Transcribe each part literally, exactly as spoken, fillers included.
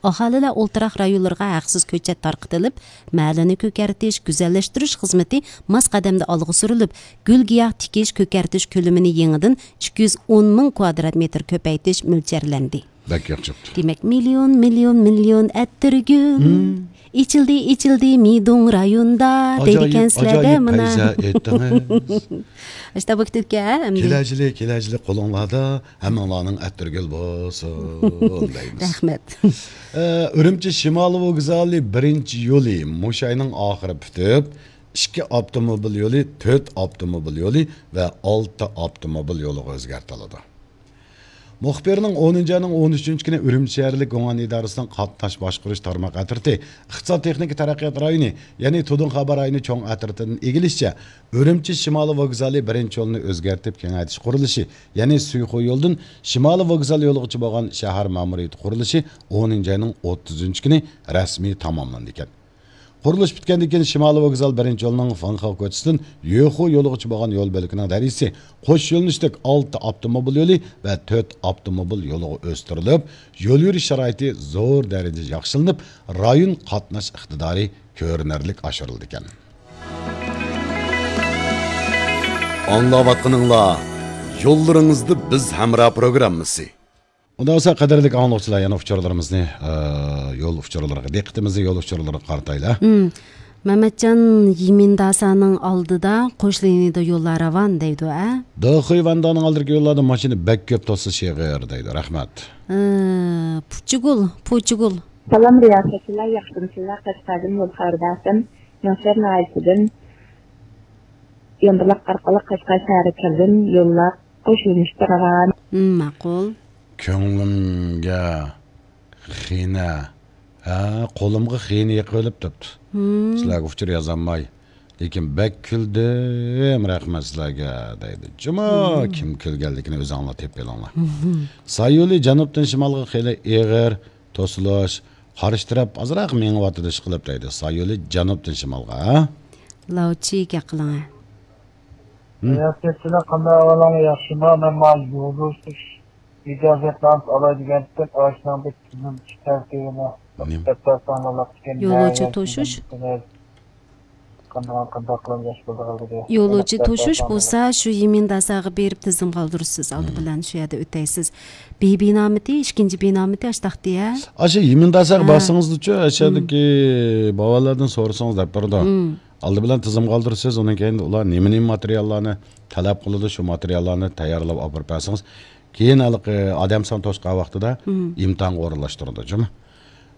ئاھالىلەر ئولتۇراق رايونلىرىغا ھەقسىز كۆچەت تارقىتىلىپ، مەھەللىنى كۆكەرتىش، گۈزەللەشتۈرۈش خىزمىتى ماس قەدەمدە ئالغا سۈرۈلۈپ، گۈل-گىياھ تىكىش، كۆكەرتىش كۆلىمىنى يېڭىدىن ئىككى يۈز ئون مىڭ كۋادرات مېتىر كۆپەيتىش مۆلچەرلەندى. بەك ياخشى بوپتۇ. دېمەك، مىليون، مىليون، مىليون ئەتىرگۈل. مم. ئېچىلدى، ئېچىلدى مىدۇڭ رايوندا، ئاجايىپ، دەيدىكەنسىلەر-دە ئاجايىپ مانا. پەيزە ئېيتتىڭىز. ئاشتا بۇ كېتىپكەن، ھە، ئەمدى. كېلەر يىلى، كېلەر يىلى قولۇڭلاردا ھەممىڭلارنىڭ ئەتىرگۈل بولسۇن دەيمىز. رەھمەت. ئە، ئۈرۈمچى شىمالىي ۋوگزالى بىرىنچى يولى مۇشۇ ئاينىڭ ئاخىرى پۈتۈپ، ئىككى ئاپتوموبىل يولى، تۆت ئاپتوموبىل يولى ۋە ئالتە ئاپتوموبىل يولىغا ئۆزگەرتىلىدۇ. مۇخبىرنىڭ ئونىنچى ئاينىڭ ئون ئۈچىنچى كۈنى ئۈرۈمچى شەھەرلىك گۇڭئەن ئىدارىسىنىڭ قاتناش باشقۇرۇش تارماق ئەترىتى ئىقتىساد تېخنىكا تەرەققىيات رايونى، يەنى تۇدۇڭخابا رايونى چوڭ ئەترىتىدىن ئىگىلىشىچە، ئۈرۈمچى شىمالىي ۋوگزالى بىرىنچى يولىنى ئۆزگەرتىپ كېڭەيتىش قۇرۇلۇشى، يەنى سۈيخۇ يولىدىن شىمالىي ۋوگزال يولىغىچە بولغان شەھەر مەمۇرىيىتى قۇرۇلۇشى ئونىنچى ئاينىڭ ئوتتۇزىنچى كۈنى رەسمىي تاماملىنىدىكەن. قۇرۇلۇش پۈتكەندىن كېيىن، شىمالىي ۋوگزال بىرىنچى يولىنىڭ فېڭخې كوچىسىدىن يۆخۇ يولىغىچە بولغان يول بۆلىكىنىڭ دەرىجىسى قوش يۆنىلىشلىك ئالتە ئاپتوموبىل يولى ۋە تۆت ئاپتوموبىل يولىغا ئۆستۈرۈلۈپ، يول يۈرۈش شارائىتى زور دەرىجىدە ياخشىلىنىپ، رايون قاتناش ئىقتىدارى كۆرۈنەرلىك ئاشۇرۇلىدىكەن. ئاڭلاۋاتقىنىڭلار يوللىرىڭىزدا بىز ھەمراھ پروگراممىسى. ئۇنداق بولسا، قەدىرلىك ئاڭلىغۇچىلار، يەنە ئۇچۇرلىرىمىزنى، ئە، يول ئۇچۇرلىرىغا، دىققىتىمىزنى يول ئۇچۇرلىرىغا قارىتايلى. مم. مەمەتجان، يىمىنداسانىڭ ئالدىدا قوش لىنىيەدە يوللار راۋان دەيدۇ، ئە؟ دېخۇي ۋەندانىڭ ئالدىدىكى يوللاردا ماشىنا بەك كۆپ، توسۇلۇش ئېغىر دەيدۇ. رەھمەت. ئە، پۇچىگۈل، پۇچىگۈل. سالام رىياسەتچىلەر، ياخشىمۇسىلەر؟ قەشقەردىن يول خەۋىرى بەرسەم، يېڭىشەھەر ناھىيەسىدىن يامبۇلاق ئارقىلىق قەشقەر شەھىرىگە كەلدىم. يوللار قوش يۆنىلىشتە راۋان. مم، ماقۇل. كۆڭلۈمگە خېنە، ھە، قولۇمغا خېنە يېقىۋېلىپ تۇرۇپتۇ. مم. سىلەرگە ئۇچۇر يازالماي. لېكىن بەك كۈلدۈم، رەھمەت سىلەرگە، دەيدۇ. جۇمۇ، مم، كىم كۈلگەنلىكىنى ئۆزۈڭلار تېپىپ ئېلىڭلار. مم. سايولى جەنۇبتىن شىمالغا خېلى ئېغىر توسۇلۇش، قارشى تەرەپ ئازراق مېڭىۋاتىدۇ، ئىشقىلىپ، دەيدۇ. سايولى جەنۇبتىن شىمالغا، ھە؟ لاۋچى گەپ قىلىڭ، ھە. ھە؟ رىياسەتچىلەر، قانداق ئەھۋالىڭلار، ياخشىمۇ؟ مەن مانا يولدىشىش ئىجازەتنامىسى ئالاي دېگەنتىم، ئاشۇنىڭ بىر تۈزۈم چىقىش تەرتىپىنى نېمە؟ دەپتەر سانلىنىپ كەتكەن. يولۇچى توشۇش؟ قانداق، قانداق قىلىپ ياخشى بولىدىغانلىقى. يولۇچى توشۇش بولسا، شۇ يىمىنداساغا بېرىپ تىزىم قالدۇرىسىز. ئالدى، مم، بىلەن شۇ يەردە ئۆتەيسىز. بى بىنامىتى، ئىككىنچى بىنامىتى ئاشتاقتى، ھە؟ ئاشۇ يىمىنداساغا، ھە، بارسىڭىزچۇ، ئاشۇ، مم، يەردىكى باۋاللاردىن سورىسىڭىز دەپ بېرىدۇ. مم. ئالدى بىلەن تىزىم قالدۇرىسىز، ئۇنىڭ كەينىدە ئۇلار نېمە، نېمە ماتېرىياللارنى تەلەپ قىلىدۇ، شۇ ماتېرىياللارنى تەييارلاپ ئاپىرىپ بەرسىڭىز، كېيىن ھېلىقى ئادەم سان توشقان ۋاقتىدا، مم، ئىمتىھانغا ئورۇنلاشتۇرىدۇ، جۇمۇ.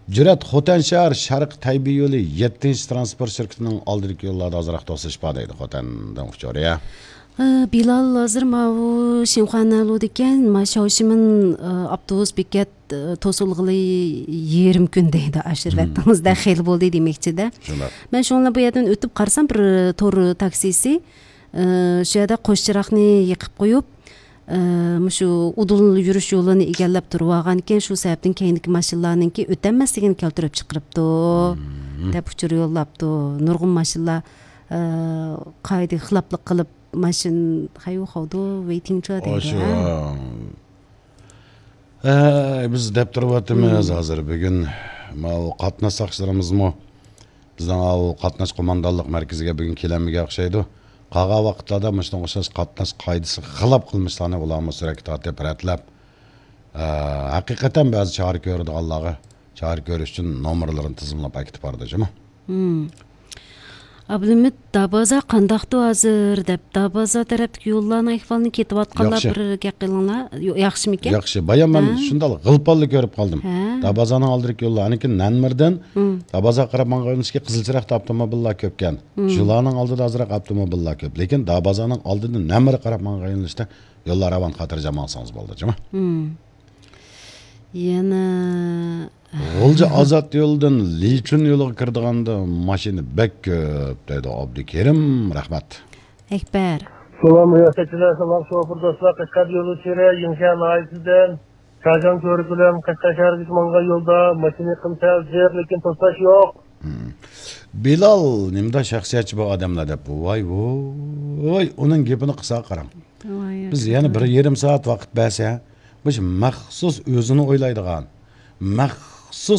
جۈرئەت، خوتەن شەھەر شەرقىي تەيبېي يولى يەتتىنچى تىرانسپورت شىركىتىنىڭ ئالدىدىكى يوللاردا ئازراق توسۇلۇش بار دەيدۇ، خوتەندىن ئۇچۇر، يا. ئە، بىلال، ھازىر ماۋۇ شىنخۇا نەلۇدىكەن، ما شاۋشىمىن، ئە، ئاپتوبۇس بېكەت، ئە، توسۇلغىلى يېرىم كۈن دەيدۇ، ئاشۇ، مم، ۋەتىڭىزدە خېلى بولدى دېمەكچىدە. شۇنداق. مەن شۇڭلا بۇ يەردىن ئۆتۈپ قارىسام، بىر تور تاكسىسى، ئە، شۇ يەردە قوش چىراغنى يېقىپ قويۇپ، ئە، مۇشۇ ئۇدۇل يۈرۈش يولىنى ئىگىلەپ تۇرۇۋالغانىكەن، شۇ سەۋەبتىن كەينىدىكى ماشىنىلارنىڭكى ئۆتەلمەسلىكىنى كەلتۈرۈپ چىقىرىپتۇ، مم، دەپ ئۇچۇر يوللاپتۇ. نۇرغۇن ماشىنىلار، ئە، قائىدىگە خىلاپلىق قىلىپ، ماشىنا، خەيۋۇ خاۋدۇ، ۋېيتىڭچۇ دەيدۇ، ئاشۇ، ھە؟ ھە، بىز دەپ تۇرۇۋاتىمىز، مم، ھازىر بۈگۈن ماۋۇ قاتناش ساقچىلىرىمىزمۇ بىزنىڭ ئاۋۇ قاتناش قوماندانلىق مەركىزىگە بۈگۈن كېلەلمىگەن ئوخشايدۇ. قالغان ۋاقىتلاردا مۇشۇنىڭغا ئوخشاش قاتناش قائىدىسىگە خىلاپ قىلمىشلارنى ئۇلارمۇ سۈرەتكە تارتىپ، رەتلەپ، ئە، ھەقىقەتەن بەزى چارە كۆرىدىغانلارغا چارە كۆرۈش ئۈچۈن نومۇرلىرىنى تىزىملاپ ئەكېتىپ بارىدۇ، جۇمۇ. مم. ئابلىمىت، دابازا قانداقتۇ ھازىر دەپ، دابازا تەرەپتىكى يوللارنىڭ ئەھۋالىنى كېتىۋاتقانلار، ياخشى، بىر گەپ قىلىڭلار. يو-، ياخشىمىكەن؟ ياخشى. بايام مەن، ھە، شۇنداق غىلپاللا كۆرۈپ قالدىم. ھە. دابازانىڭ ئالدىدىكى يوللار، ئانىكى نەنمىردىن، مم، دابازاغا قاراپ ماڭغان يۆنىلىشكە قىزىل چىراغدا ئاپتوموبىللار كۆپكەن. مم. شۇلارنىڭ ئالدىدا ئازراق ئاپتوموبىللار كۆپ. لېكىن دابازانىڭ ئالدىدىن نەنمىرگە قاراپ ماڭغان يۆنىلىشتە يوللار راۋان، خاتىرجەم ماڭسىڭىز بولدى، جۇمۇ. مم. يەنە غۇلجا ئازاد يولىدىن لىچۈن يولىغا كىرىدىغاندا ماشىنا بەك كۆپ، دەيدۇ ئابدۇكېرىم. رەھمەت. ئەكبەر. سالام، رىياسەتچىلەر، سالام، شوپۇر دوستلار، قەشقەر يولى ئۈچۈرە، يېڭىشەھەر ناھىيەسىدىن شاجاڭ كۆۋرۈك بىلەن قەشقەر شەھىرىگىچە ماڭغان يولدا ماشىنا ئېقىم سەل زىق، لېكىن توسۇش يوق. مم. بىلال، نېمىدا شەخسىيەتچى بۇ ئادەملەر دەپ، ۋاي، ۋوي، ئۇنىڭ گېپىنى قىلسا قاراڭ. ۋاي، بىز يەنە بىر يېرىم سائەت ۋاقىت بەرسە، مۇشۇ مەخسۇس ئۆزىنى ئويلايدىغان، مەخسۇس